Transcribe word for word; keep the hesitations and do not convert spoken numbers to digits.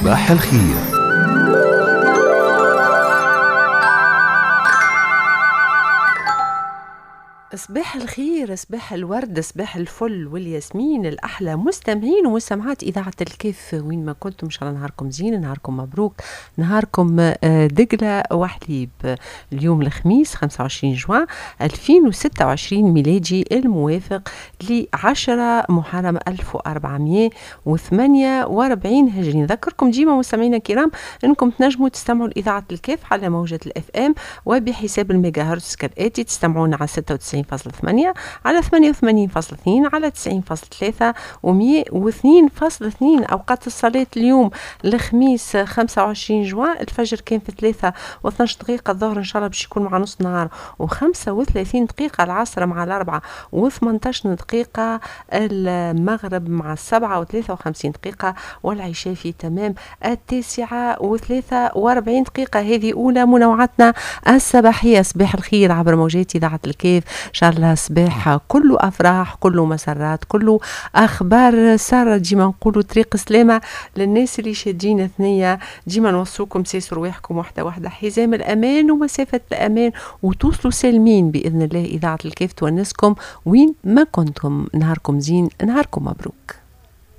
صباح الخير. صباح الخير، صباح الورد، صباح الفل والياسمين. الأحلى مستمعين ومستمعات إذاعة الكاف وين ما كنتم، إن شاء الله نهاركم زين، نهاركم مبروك، نهاركم دقلة وحليب. اليوم الخميس خمسة وعشرين جوان ألفين وستة وعشرين ميلادي، الموافق لعشرة محرم ألف وأربعمية وثمانية وأربعين هجري. نذكركم ديما مستمعينا الكرام أنكم تنجموا تستمعوا لإذاعة الكاف على موجة ال FM وبحساب الميجا هرتز كالآتي: تستمعون على ستة وتسعين فاصلة ثمانية، على ثمانية وثمانين فاصلة اثنين، على تسعين فاصلة ثلاثة ومية واثنين فاصلة اثنين. أوقات الصلاة اليوم الخميس خمسة وعشرين جوان، الفجر كان في ثلاثة واثناش دقيقة، الظهر إن شاء الله باش يكون مع نص نهار وخمسة وثلاثين دقيقة، العصر مع الأربعة وثمنتاش دقيقة، المغرب مع السبعة وثلاثة وخمسين دقيقة، والعشاء في تمام التاسعة وثلاثة وأربعين دقيقة. هذه أولى منوعاتنا الصباحية. صباح الخير عبر موجات إذاعة الكاف. إن شاء الله صباح كله أفراح، كله مسرات، كله أخبار سارة. ديما نقولوا طريق سلامة للناس اللي شادين ثنية، ديما نوصوكم سيسوا رواحكم واحدة واحدة، حزام الأمان ومسافة الأمان، وتوصلوا سالمين بإذن الله. إذاعة الكاف تونسكم وين ما كنتم. نهاركم زين، نهاركم مبروك.